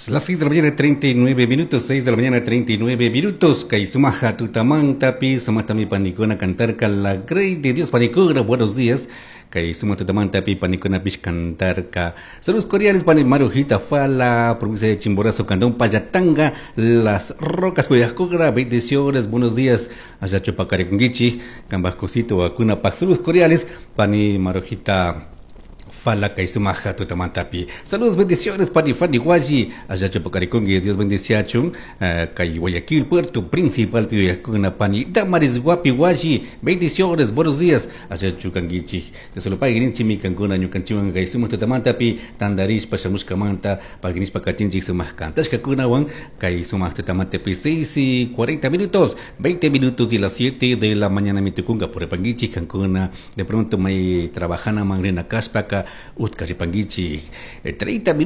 Las 6 de la mañana 39 minutos, 6 de la mañana 39 minutos. Kay sumaja tutamantapi, sumatami panikuna cantarka la grey de Dios panikuna. Buenos días. Kay suma tutamantapi panikunapish cantarka. Saludos cordiales pani Marujita Fala, provincia de Chimborazo, Cantón Pallatanga, Las Rocas, Cuyascogra, bendiciones, buenos días. Allá Chupacariconguichi, Cambascosito, Vacuna, Saludos cordiales, pani Marujita Fala kay sumaja tutamantapi. Saludos, bendiciones, pani Fanny Guayi, allá Chupacaricongue, Dios bendiciachun, kay Guayaquil, Puerto Principal, Piyacuna, pani Damaris Guapi Guayi, bendiciones, buenos días, allá Chucanguichi, de solo pagrinchi mi cancuna, ñucanchiwan kay sumaj tutamantapi, tandarish pashamushkamanta, pagrinishpa katinchik sumaj kantashkakunawan, kay sumaj tutamantapi, 6 y 40 minutos, 20 minutos y las 7 de la mañana mitukunga, por panguichi, cancuna, de pronto may trabajana mangrina kashpaka, utkaripanguichi, 30 minutos.